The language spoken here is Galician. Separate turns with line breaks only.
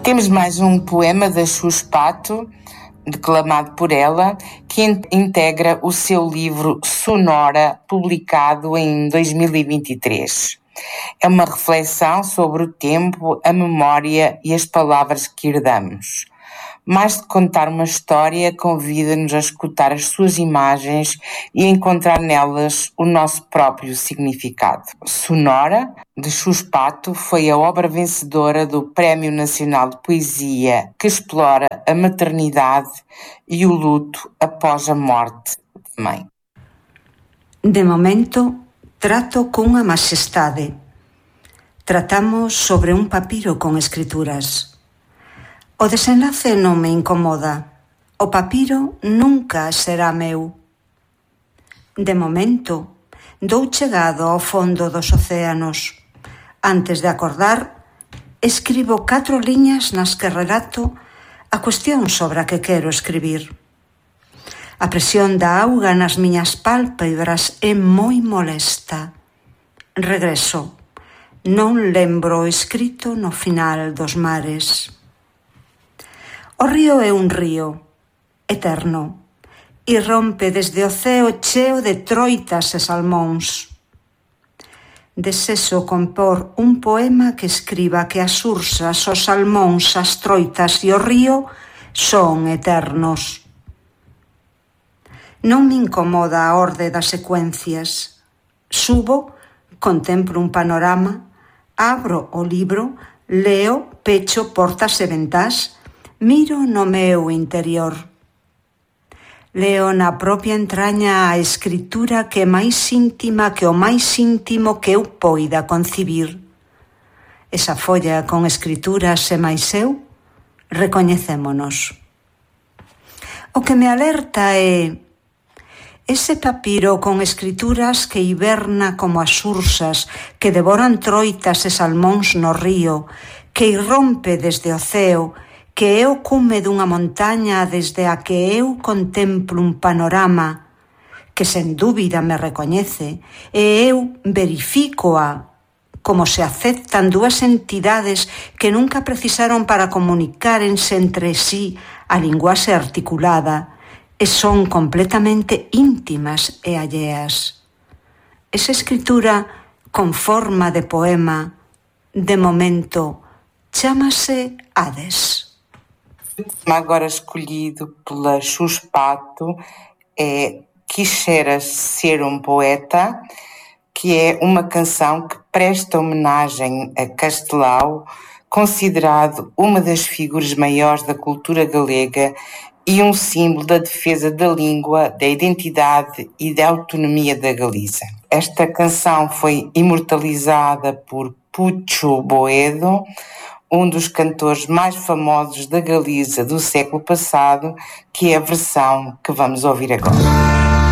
Temos mais um poema da Xus Pato, declamado por ela, que integra o seu livro Sonora, publicado em 2023. É uma reflexão sobre o tempo, a memória e as palavras que herdamos. Mais de contar uma história, convida-nos a escutar as suas imagens e a encontrar nelas o nosso próprio significado. Sonora, de Xus Pato, foi a obra vencedora do Prémio Nacional de Poesia, que explora a maternidade e o luto após a morte da mãe.
De momento, trato cunha majestade. Tratamos sobre un papiro con escrituras. O desenlace non me incomoda. O papiro nunca será meu. De momento, dou chegado ao fondo dos océanos. Antes de acordar, escribo 4 liñas nas que relato a cuestión sobre a que quero escribir. A presión da auga nas miñas pálpebras é moi molesta. Regreso. Non lembro o escrito no final dos mares. O río é un río, eterno, e rompe desde o ceo cheo de troitas e salmóns. Desexo compor un poema que escriba que as ursas, os salmóns, as troitas e o río son eternos. Non me incomoda a orde das secuencias. Subo, contemplo un panorama, abro o libro, leo, pecho portas e ventás, miro no meu interior. Leo na propia entraña a escritura que é máis íntima que o máis íntimo que eu poida concibir. Esa folla con escrituras e máis eu, recoñecémonos. O que me alerta é ese papiro con escrituras que hiberna como as ursas que devoran troitas e salmóns no río, que irrompe desde o ceo, que é o cume dunha montaña desde a que eu contemplo un panorama que sen dúbida me recoñece e eu verifícoa como se aceptan dúas entidades que nunca precisaron para comunicárense entre sí a linguaxe articulada e son completamente íntimas e alleas. Esa escritura con forma de poema, de momento, chámase Hades.
O tema agora escolhido pela Xus Pato é Quixeras Ser um Poeta, que é uma canção que presta homenagem a Castelao, considerado uma das figuras maiores da cultura galega e um símbolo da defesa da língua, da identidade e da autonomia da Galiza. Esta canção foi imortalizada por Pucho Boedo, um dos cantores mais famosos da Galiza do século passado, que é a versão que vamos ouvir agora.